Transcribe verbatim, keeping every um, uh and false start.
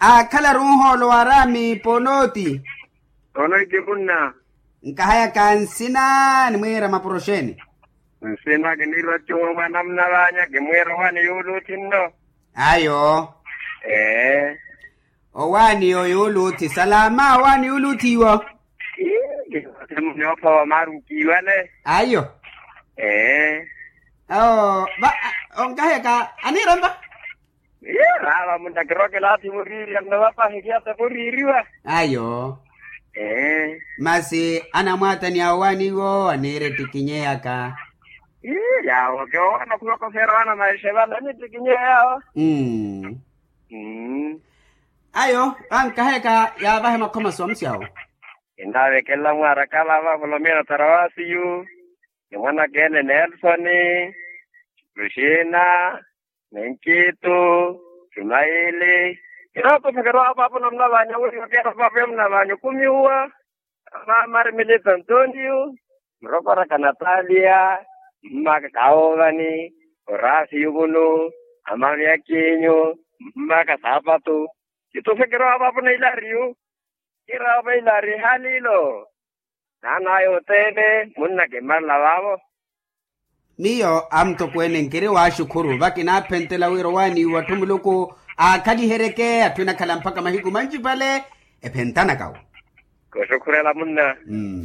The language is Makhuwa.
Aakhalaru nhoolo wa araami ponooti. Ponooti munna. Nkahayaka nsina nimwiira mapuro xeeni? Nsina kiniira ocuwa mwana munavanya kimwiira owaani yuuluuthi nno. Ayo. Ee. Owaani yo yuuluuthi salama owaani yuuluuthi iwo. Ii. Munioopha wa maaru nkiiwale. Ayo. Ee. Oo va. Onkahayaka aniira mpa? Ii raava munna kirokela athi muriiriya nno vapahi kiyata muriiriwa. Ayo. Ee. Masi anamwaataniya owaani iwo aniira ettikinyeyaka. Ii yaawo kiowana khulokoferya wana maixe vale anittikinyeya yaawo. Mmm. Ayo. Ankahayaka yaavahe makhomaso amusi awo. Kinaavekelela mwaaraka vava volomina tarawasiyu, ni mwanaka ene nelsoni, luxina, ni nkitu, sumayili. Kinootofekerya vava papo namunavanya wira okera papo yamunavanya okumiwa. Amaama ari milito antoniyu, murokoraka nataliya, mmaka kawoovani, orasiyu vunu, amamiyakinyu, mmaka saapatu. Kitofekerya vava papo na ilariyu. Kiraava ilari halilo. Naanaya othene munna kimmarela vaavo. Miyo amutokweene nkiri waaxukhuru vakinaaphentela wira owaaniwa atthu muluku aakhaliheryeke atthu enakhala mpakha mahiku manci vale. Ephentanaka wo. Kuxukhurela munna.